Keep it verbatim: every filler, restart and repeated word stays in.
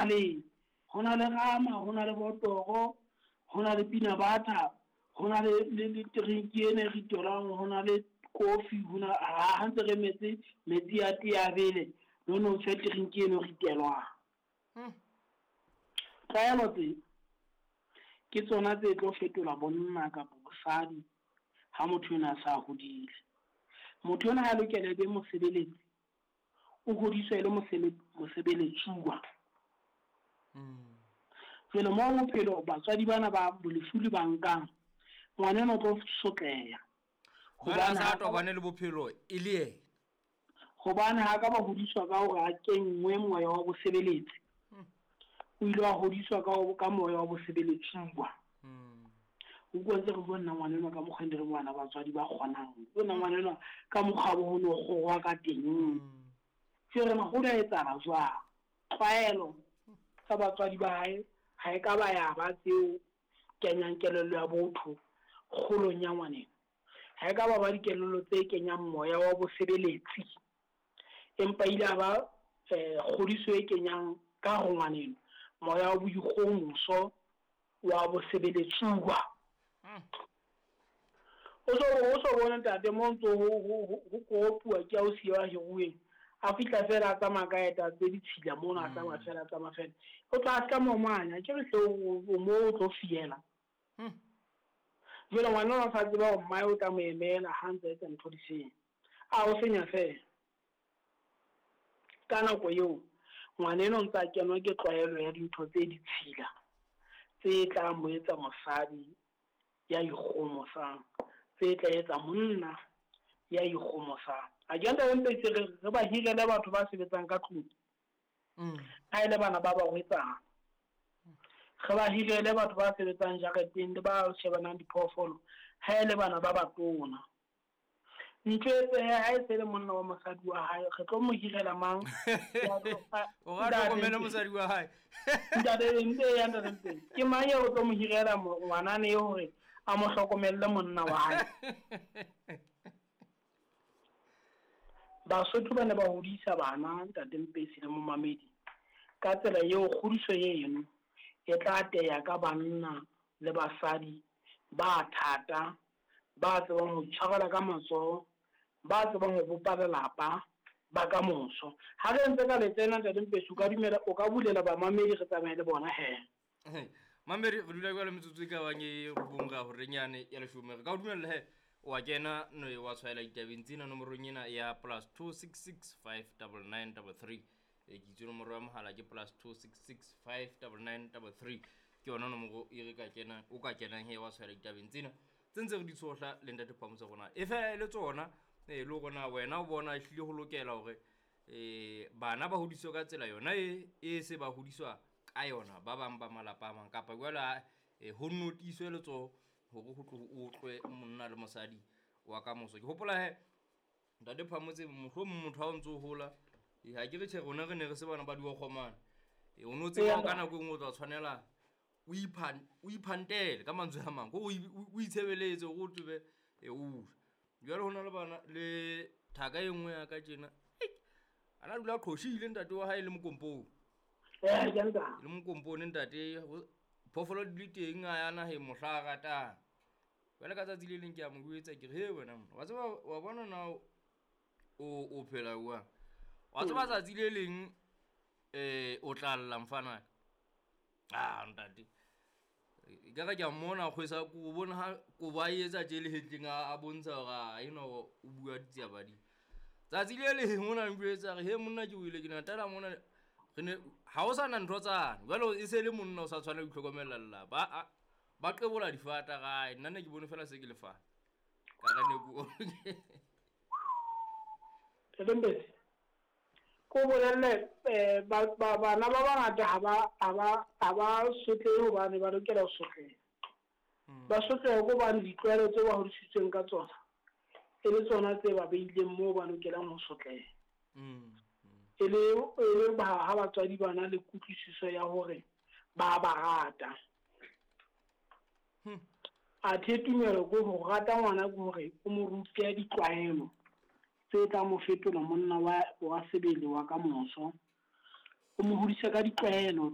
Le ho na le rama, ho na le botoro, ho na le peanut butter, ho na le le le drink ena e ritelwang, ho na le kofi, ho na ha ntse re emetse metsi a tee a bele, no no fe drink eno ritelwang. Tlwaelo tse ke tsona tse tlo fetola bonna kapa bosadi ha motho enwa a sa hodile. Motho enwa ha lokela e be mosebeletsi, o hodiswa e le mosebeletsuwa. Jwale moo bophelo batswadi bana ba bolefuli ba nkang, ngwana enwa o tlo sotleha. Jwale a sa tobane le bophelo e le yena. Hobane ha ka ba hodiswa ka hore a kenngwe moya wa bosebeletsi. O ile wa hodiswa ka ka moya wa bosebeletsuwa. O utlwa ntse re bua nna ngwana enwa ka mokgwa re ngwana batswadi ba kgonang. O nna ngwana enwa ka mokgwa bo ho no kgorwa ka teng. Jwale re ho da etsahala jwang? Tlwaelo tsa batswadi ba hae ha e ka ba ya ba tseo kenyang kelello ya botho kgolong ya ngwaneno. Ha e ka ba ba dikelello tse kenyang moya wa bosebeletsi, empa ile a ba kgodiso e kenyang ka ho ngwaneno moya wa boikgohomoso wa bosebeletsuwa. O so o so bone ntate mo ntso ho ho kopuwa ke ausi wa hiruweng, a fihla fela a tsamaya ka eta tse ditshila mona, a tsamaya fela a tsamaya fela, o tla ska momanya ke re hle o mo o tlo fiela. Jwale ngwana o sa tseba hore mmae o tla mo emela ha ntse a etsa ntho di seng, a o senya fela. Ka nako eo ngwana enwa o ntse a kenwa ke tlwaelo ya dintho tse ditshila tse tla mo etsa mosadi ya ikgomosang, tse tla etsa monna ya ikgomosang. A ke ntate Mpetsi re re ba hirele batho ba sebetsang ka tlung. Ha ele bana ba barwetsana, re ba hirele batho ba sebetsang jareteng le ba shebanang diphoofolo, ha ele bana ba batona. Ntho e tse ha e se le monna wa mosadi wa hae, re tlo mo hirela mang? O ra hlokomele mosadi wa hae. Ntate Mpe ya ntate Mpe. Ke mang eo o tlo mo hirela ngwanane eo hore a mo hlokomelle monna wa hae? Basotho ba ne ba hodisa bana ntate Mpesi le momamedi ka tsela eo kgodiso eno e tla teya ka banna le basadi ba thata, ba tsebang ho itshwarela ka matsoho, ba tsebang ho bopa lelapa ba ka moso. Ha re ntse ka letsena ntate Mpesi, o ka dumela, o ka bulela bamamedi re tsamaye le bona he. Mamedi, re dula jwale metsotso e ka bang e robong ka horeng yane ya leshome. Re ka o dumella he, wa kena no wa tshwaela ditabeng tsena nomorong ena ya plus two six six five double nine double three. E ke itse nomoro ya mohala ke plus two six six five double nine double three. Ke yona nomoro e re ka kenang, o ka kenang he wa tshwaela ditabeng tsena tse ntse re di tshohla le ntate Phamotse rona. E fela e le tsona, e le rona wena o bona ehlile ho lokela hore eh bana ba hodiswe ka tsela yona e e se ba hodiswa ka yona ba bang ba malapa a mang, kapa jwale e ho notiswe letsoho hore ho tlo o utlwe monna le mosadi wa ka moso. Ke hopola he ntate Phamotse mohlomong motho ha o ntso hola, e ha ke re tjhe rona re ne re se bana ba diokgomane. E o no tseba ka nako e nngwe o tla tshwanela o iphan o iphantele ka mantswe a mang, o o itshebeletse hore o tsebe e o jwale ho na le bana le thaka e nngwe ya ka tjena ana dula qhoshile ntate wa hae le mokompong. Eh ke nta le mokompone ntate phoofolo di le teng a ya naheng mohla a ratang. Jwale ka tsatsi le leng ke a mo jwetsa ke re he wena monna, wa tseba wa bona na o o phela jwang, wa tseba tsatsi le leng eh o tla lla mfana. Ah ntate e ka re ke a mmona kgwesa ko bona ha ko ba etsa tje le hetleng a bontsha hore a eno o bua ditsiabadi. Tsatsi le leng o na njwetsa re he monna ke o ile ke natala mona re ne ha o sana ntho tsane jwale e se le monna o sa tshwane ho itlhokomela lelapa a ba qebola difata gae. Nna ne ke bone fela se ke lefa ka re ne ko Mpesi ko bolelle ba bana ba bangata ha ba ha ba ha ba sotlehe hobane ba lokela ho sotleha. Ba sotleha hobane ditlwaelo tse ba hodisitsweng ka tsona e le tsona tse ba beileng moo ba lokelang ho sotleha. E le e le ba ha batswadi ba na le kutlwisiso ya hore ba ba rata. Athe tumelo ko ho rata ngwana ke hore o mo rute ditlwaelo tse tla mo fetola monna wa wa sebele wa ka moso. O mo hodise ka ditlwaelo